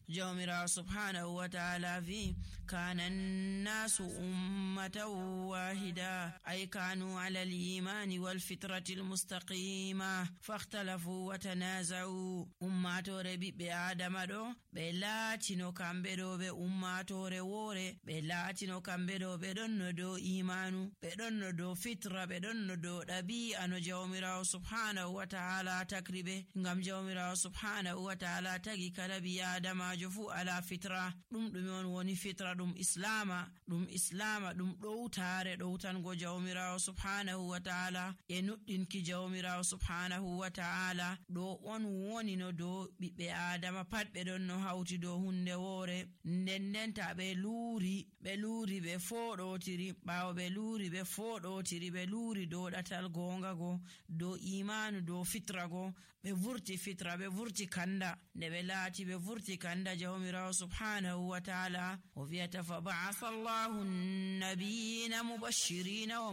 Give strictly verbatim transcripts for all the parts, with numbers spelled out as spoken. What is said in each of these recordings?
jawmirawo subhanahu wa ta'ala vi kana an-nasu ummatan wahida ay kanu ala al-imani wal fitrati al-mustaqima fakhtalafu wa tanaza'u. ummatore bibbe adama do be laatino kambe do be ummatore wore be laatino kambe do be donno do imanu be donno do fitra be donno do dabi'a no jawmirawo subhanahu wa ta'ala takribe ngam jawmirawo subhanahu wa ta'ala tagi kala bi adama jo fu ala fitra dum dum on woni fitra dum islama dum islama dum dowtare dowtango jawmirawo subhanahu wa ta'ala e nuddinki jawmirawo subhanahu wa ta'ala do on woni no do bibbe adama pat be don no hauti do hunde wore ndendenta be luuri be luuri be fodotiri bawo be luuri be fodotiri be luuri do datal gonga go do imanu do fitra go be vurti fitra be vurti kanda ne be laati be vurti kanda jawmirawo subhanahu wa ta'ala o viyata fa ba'atha Allahu an-nabiyina mubashshirina wa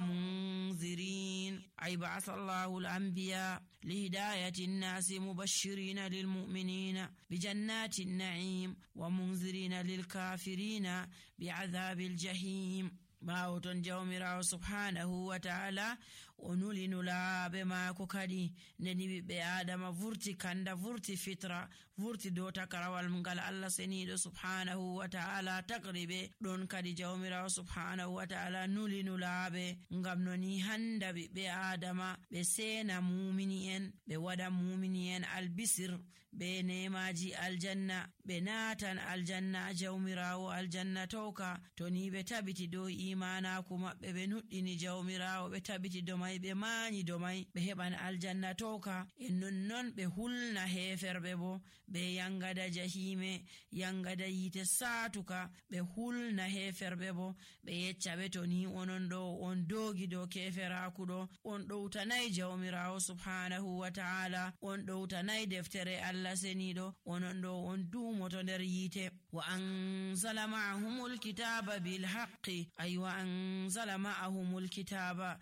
munzirin ay ba'atha Allahu al-anbiya li hidayati an-nasi mubashshirina lil mu'minina bi jannati an-na'im wa munzirina lil kafirina bi 'adhabil jahim. bawo ton jawmirawo subhanahu wa ta'ala onuli nulabe mako kadi neni bibbe adama vurti kanda vurti fitra vurti do takarawal ngal Allah senido subhanahu wa ta'ala takribe don kadi jawmirawo subhanahu wa ta'ala nuli nulabe ngam noni handa bibbe adama be sena mu'mini en be wada mu'mini en albisir be nemaji aljanna be natan aljanna jawmirawo aljanna toka toni be tabiti do imana kuma be be nuddini jawmirawo be tabiti do mai be mani do mai be heban aljanna toka en nonnon be hulna heferbe bo be yangada jahime yangada yite satuka be hulna heferbe bo be yecca be to ni onon do on dogi do keferaku do on dowtanai jawmirawo subhanahu wa ta'ala on dowtanai deftere Allah senido onon do on dumoto nder yite wa anzala ma'ahumul kitaba bil haqqi ay wa anzala ma'ahumul kitaba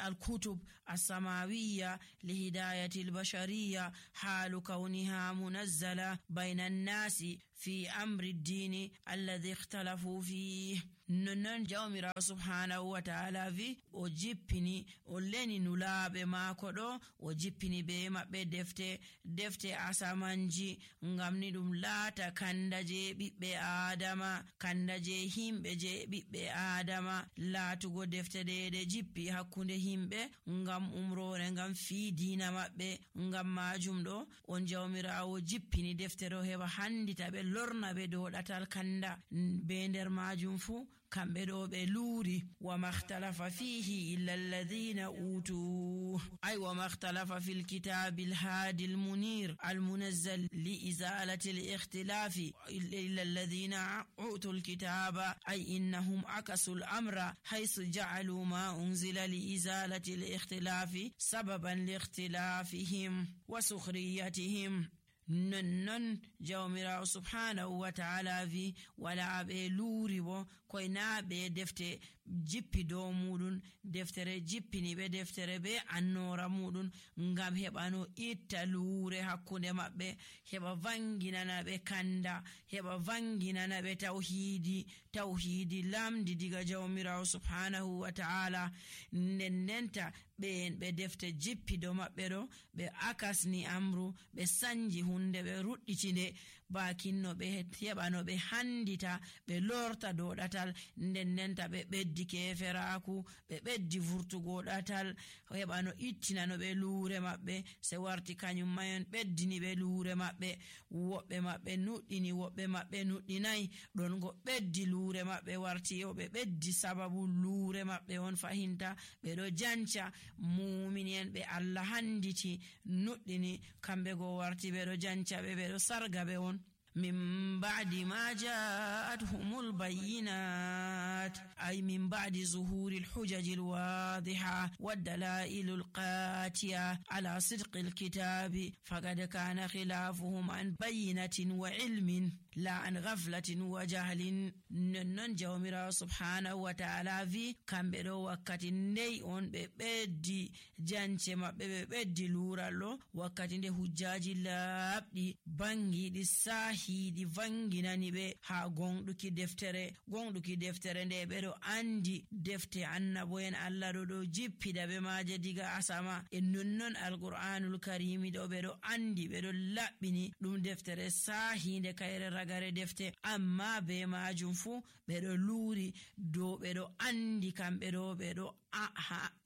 al-kutub as-samawiyya li hidayati al-bashariyya halu kauniha munazzala bayna an-nasi fi amri ad-din alladhi ikhtalafu fihi. non jawmira subhanahu wa ta'ala vi o jippini o leni nulabe mako do o jippini be mabbe defte defte asamanji ngam ni dum laata kanda je bibbe adama kanda je himbe je bibbe adama laatugo defte de de jippi hakkunde himbe ngam umrore ngam fi dina mabbe ngam majum do on jawmirawo jippini defte do heba handita be lorna be do datal kanda be nder majum fu kambe do be luri wa makhtalafa fihi illa alladhina utu ay wa makhtalafa fil kitabil hadil munir al munazzal li izalati al ikhtilafi illa alladhina utu al kitaba ay innahum akasu al amra haythu ja'alu ma unzila li izalati al ikhtilafi sababan li ikhtilafihim wa sukhriyatihim. non non jawmira subhanahu wa ta'ala vi wala be luri bo koy na be defte jippi do mudun deftere jippini be deftere be annora mudun ngam hebano itta lure hakkunde mabbe heba vangina be kanda heba vangina be tauhidi tauhidi lamdi diga jawmira subhanahu wa ta'ala nendenta be be defte jippi do mabbe do be akasni amru be sanji hunde be rudditinde bakinno be hebano be handita be lorta do datal ndennenta be beddi keferaku be beddi vurtugo datal hebano ittina no be lure mabbe se warti kanyum mayon beddini be lure mabbe wobbe mabbe nuddini wobbe mabbe nuddinai don go beddi lure mabbe warti yo be beddi sababu lure mabbe on fahinta be do jancha mu'minin be Allah handiti nuddini kambe go warti be do jancha be be do sarga be on من بعد ما جاءتهم البينات أي من بعد ظهور الحجج الواضحة والدلائل القاطعة على صدق الكتاب فقد كان خلافهم عن بينة وعلم la an ghaflatin wa jahlin. Non jawmirawo subhanahu wa ta'ala vi kamɓe ɗo wakkati ndey on ɓe ɓeddi jance maɓɓe, ɓe ɓeddi lurallo wakkati nde hujjaji laaɓɗi bangiɗi sahiɗi vanginani ɓe ha gonɗuki deftere gonɗuki deftere nde ɓeɗo andi defte annabo'en Allah ɗo ɗo jippida be maje diga asama. e nonnon alqur'anul karimi ɗo ɓeɗo andi ɓeɗo laɓɓini ɗum deftere sahinde kayre ragare defte, amma be majum fu ɓeɗo luri dow ɓeɗo andi kamɓe ɗo ɓeɗo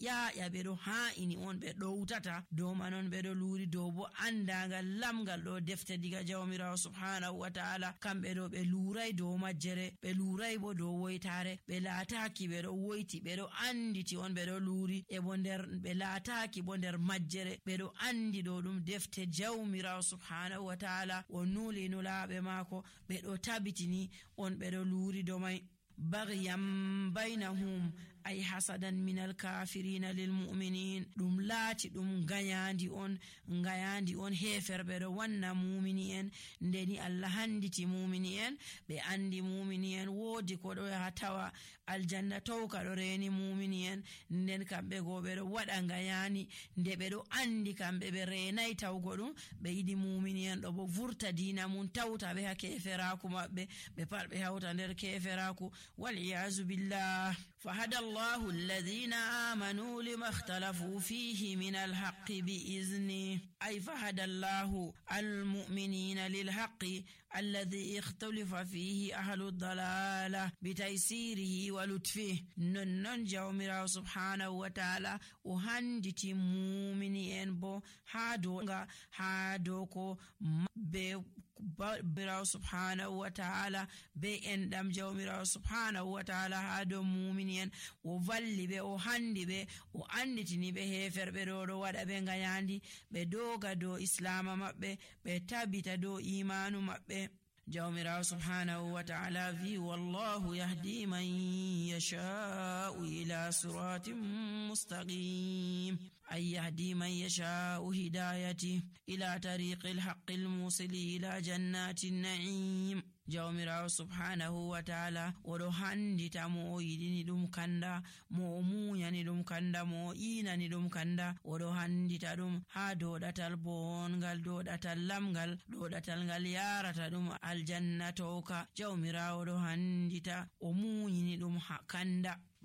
ƴaƴa ɓeɗo ha'ini on ɓe ɗowtata dow manon ɓeɗo luri dow bo andagal lamgal ɗo defte diga jawmirawo subhanahu wa ta'ala. kamɓe ɗo ɓe lurai dow majjere, ɓe lurai bo dow woytare, ɓe laataki ɓeɗo woyti, ɓeɗo anditi on ɓeɗo luri e bo nder ɓe laataki bo nder majjere ɓeɗo andi ɗo ɗum defte jawmirawo subhanahu wa ta'ala o nuli nulaɓe maako ɓeɗo tabitini on ɓeɗo luri dow mai. baghyan bainahum ay hasadan minal kafirina lil mu'minin. ɗum laati ɗum gayandi on gayandi on heferɓe ɗo wanna mumini en ndeni Allah handiti mumini en ɓe andi mumini en woodi ko ɗo yaha tawa aljanna tawka ɗo reni mumini en, nden kamɓe go ɓe ɗo waɗa gayani nde ɓe ɗo andi kamɓe ɓe renai tawgo ɗum ɓe yiɗi mumini en ɗo bo vurta dina mum tawta ɓe ha keferaku maɓɓe ɓe pat ɓe hawta nder keferaku wal iyazu billah. فهدى الله الذين آمنوا لما اختلفوا فيه من الحق بإذنه أي فهدى الله المؤمنين للحق الذي اختلف فيه أهل الضلالة بتيسيره ولطفه. نن جاومرا سبحانه وتعالى وهندتي مؤمنين بو هادوغا هادوكو بي birawo subhanahu wa ta'ala be enɗam jawmirawo subhanahu wa ta'ala ha dow mumini en o valli ɓe o handi ɓe o anditini ɓe heferɓe ɗo ɗo waɗa ɓe gayandi ɓe doga dow islama maɓɓe ɓe tabita dow imanu maɓɓe. jawmirawo subhanahu wa ta'ala vi wallahu yahdi man yasha'u ila siratin mustaqim ay yahdi man yasha'u hidayati ila tariqil haqqil musili ila jannatin na'im. jawmirawo subhanahu wa ta'ala oɗo handita mo o yiɗini ɗum kanda, mo o muñani ɗum kanda, mo o inani ɗum kanda, oɗo handita ɗum ha doɗatal bongal, doɗatal lamgal, doɗatal ngal yarata ɗum aljanna towka. jawmirawo ɗo handita o muñini ɗum kanda